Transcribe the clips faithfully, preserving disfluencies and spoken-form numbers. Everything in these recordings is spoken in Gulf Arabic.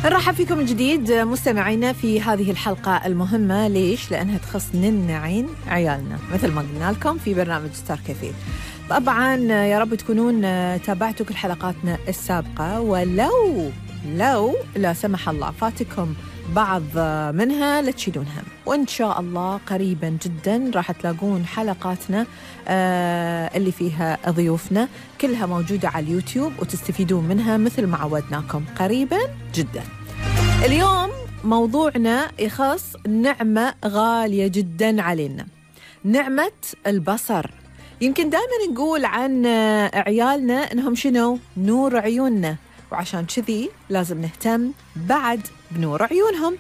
نرحب فيكم من جديد مستمعينا في هذه الحلقة المهمة. ليش؟ لأنها تخص ننعين عيالنا مثل ما قلنا لكم في برنامج ستار كافيه. طبعا يا رب تكونون تابعتوا كل حلقاتنا السابقة، ولو لو لا سمح الله فاتكم بعض منها لا تشيلون هم، وإن شاء الله قريبا جدا راح تلاقون حلقاتنا آه اللي فيها ضيوفنا كلها موجودة على اليوتيوب وتستفيدون منها مثل ما عودناكم قريبا جدا. اليوم موضوعنا يخص نعمة غالية جدا علينا، نعمة البصر. يمكن دائما نقول عن عيالنا إنهم شنو؟ نور عيوننا، وعشان كذي لازم نهتم بعد بنور عيونهم.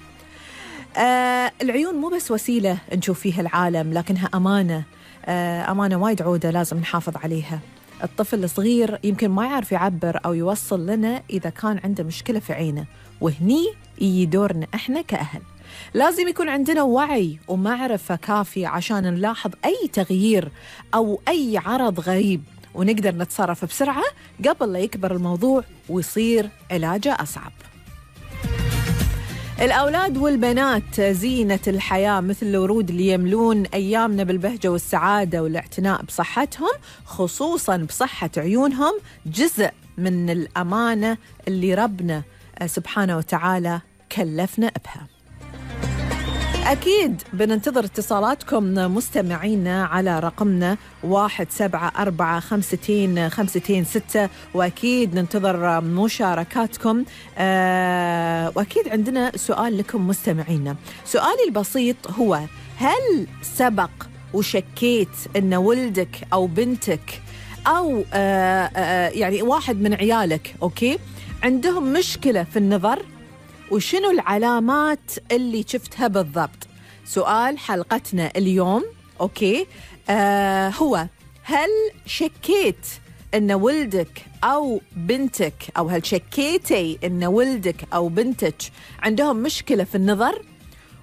آه العيون مو بس وسيلة نشوف فيها العالم، لكنها أمانة، آه أمانة وايد عودة لازم نحافظ عليها. الطفل الصغير يمكن ما يعرف يعبر أو يوصل لنا إذا كان عنده مشكلة في عينه، وهني يجي دورنا إحنا كأهل. لازم يكون عندنا وعي ومعرفة كافية عشان نلاحظ أي تغيير أو أي عرض غريب، ونقدر نتصرف بسرعة قبل لا يكبر الموضوع ويصير علاجه أصعب. الأولاد والبنات زينة الحياة مثل الورود اللي يملون أيامنا بالبهجة والسعادة والاعتناء بصحتهم، خصوصاً بصحة عيونهم، جزء من الأمانة اللي ربنا سبحانه وتعالى كلفنا بها. أكيد بننتظر اتصالاتكم مستمعينا على رقمنا واحد سبعة أربعة خمستين خمستين ستة، وأكيد ننتظر مشاركاتكم. أه وأكيد عندنا سؤال لكم مستمعينا. سؤالي البسيط هو: هل سبق وشكيت أن ولدك أو بنتك أو أه أه يعني واحد من عيالك أوكي عندهم مشكلة في النظر؟ وشنو العلامات اللي شفتها بالضبط؟ سؤال حلقتنا اليوم أوكي آه هو: هل شكيت أن ولدك أو بنتك، أو هل شكيتي أن ولدك أو بنتك عندهم مشكلة في النظر؟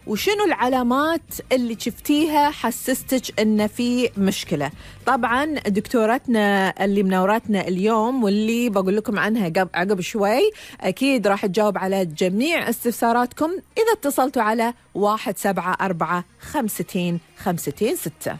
وشنو العلامات اللي شفتيها حسستك أن في مشكلة؟ طبعا دكتورتنا اللي منورتنا اليوم واللي بقول لكم عنها عقب شوي أكيد راح تجاوب على جميع استفساراتكم إذا اتصلتوا على واحد سبعة أربعة خمستين خمستين ستة.